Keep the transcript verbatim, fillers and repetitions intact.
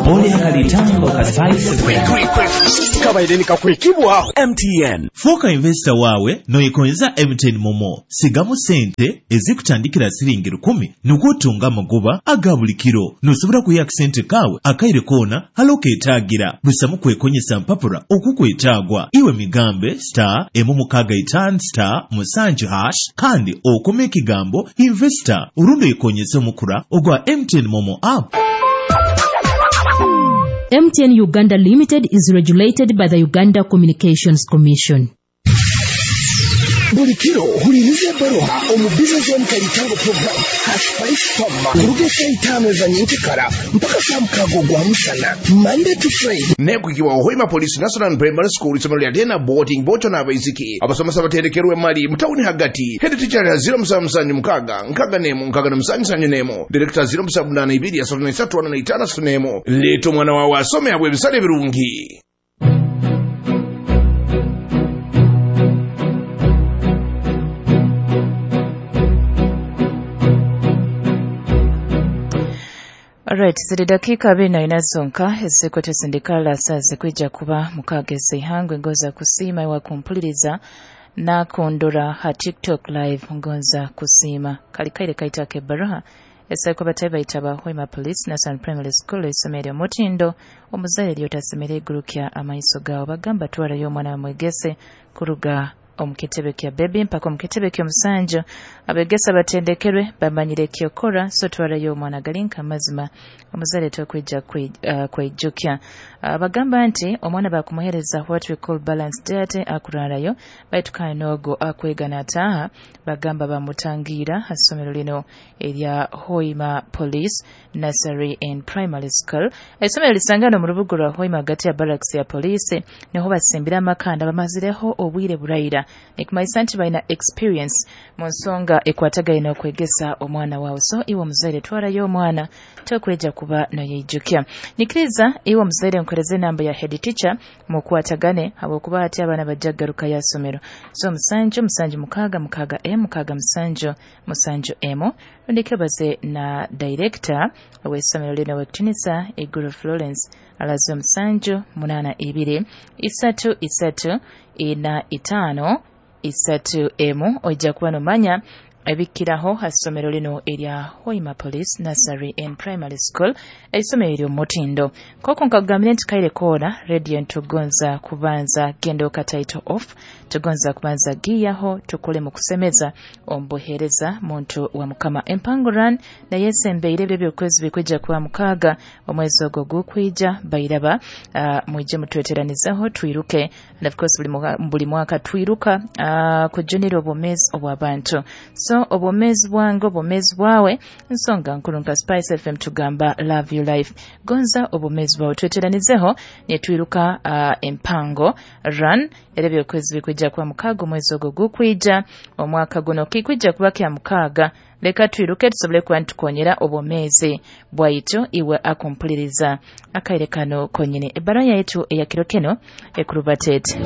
Oli akalitango ka Spice F M. Kabaire nikakwekibwaho M T N. Fuuka investor waawe noyekonyeza M T N MoMo. Sigamu sente ezikutandikira siringi rukumi nukwo otunga amagoba aga buli kiro. Nosobora kwiha akasente kaawe akaire koona hali okeetaagira busamu kwekonyesa mpapura okukwetaagwa. Iwe migambe star emu mukaaga itaano star musanju hash kandi okome ekigambo investor orundi oyekonyese omukura ogwa M T N MoMo app. M T N Uganda Limited is regulated by the Uganda Communications Commission. Buli kiro huliriza ebbaruha omu Business on Kalitango program ha Spice Fama kuruga esaa itaano eza nyenkekara mpaka saa mukaaga ogwa musana, Monday to Friday. Nekwikibwa Hoima Police National Primary School, isomero lya day na boarding, bocho n'abaisiki. Abasomesa baterekerwe mali mutawuni hagati. Head teacher ya zero musanvu musanvu mukaaga nkaga nemu nkaga na musanju sanju nemu, director zero musanvu munana ibiri asatu na isatu ana na itaano asatu nemu. Leeta omwana wawe asome abwe ebisale ebirungi. Alright, ziri dakiika abiri na ina zonka ezikwete sindikala saa zikwija kuba mukaaga ez'ihangwe. Ngoza kusiima iwe kumpuliriza nakundora ha TikTok live. Ngonza kusiima kali kaire kaitaka ebbaruha esaiko batayi baitaba Hoima Police National Primary School, isomero omutindo. Omuzaire lyotasemere igurukya amaiso gawe. Bagamba twarayo omwana wamwegese kuruga omu kitebe kya baby mpaka omu kitebe ky'omusanju. Abegesa batendekerwe, bamanyire ekyokora, so twarayo omwana. Galinka amazima, omuzaire tokwija kwe- uh, kweijukya. uh, bagamba nti omwana bakumuhereza what we call balanced diet akurarayo, baitu kandi n'ogwo akwega n'ataaha bagamba bamutangiira ha ssomero lino erya Hoima Police Nursery and Primary School. Essomero lisangana mu rubuga rwa Hoima hagati ya barracks ya poliisi, niho basimbira amakanda, bamazireho obwire buraira, nikumanyisa nti balina experience mu nsonga ekwatagaine okwegesa omwana waawe. So iwe omuzaire twarayo omwana, tokweja kuba noyeijukya. Nyikiriza iwe omuzaire nkuhereze enamba ya head teacher mukwatagane, habwokuba hati abaana bajja kugaruka ya somero. So musanju musanju mukaaga mukaaga emu mukaaga musanju musanju emu, rundi kebaze na director ow'essomero lino, Wekitinisa Iguru Florence, alaze omusanju munaana ibiri isatu isatu ina itaano isatu emu. Ojja kuba nomanya ebikiraho ha ssomero lino erya Hoima Police Nursery and Primary School, essomero ery'omutindo. Koko nkakugambire nti kaire koona radio ntugonza kubanza genda title off, tugonza kubanza giyaho tukole mu kusemeza omubuheereza muntu wa Mukama. Empango Run naye esembeire ebiro ebyokwezi bikwija kuba mukaaga omwezi ogwo gukwija. Bairaba uh, mwije mutweteranizaho twiruke. And of course buli, mwaka- buli mwaka twiruka uh, kujunira obwomeezi obw'abantu. So obwomeezi bwange, obwomeezi bwawe nsonga nkulu. Nka Spice F M tugamba love your life, gonza obwomeezi bwawe. Tweteranizeho netwiruka uh, Empango Run era ebyokwezi bikwija kuba mukaaga omwezi ogwo gukwija omwaka guno kikwija kuba kya mukaaga. Leka twiruke tusobole kuba nitukonyera obwomeezi bwaitu. Iwe akumpuliriza akaire kano konyini, ebbaluwa yaitu eyakiro kino ekuruba tete.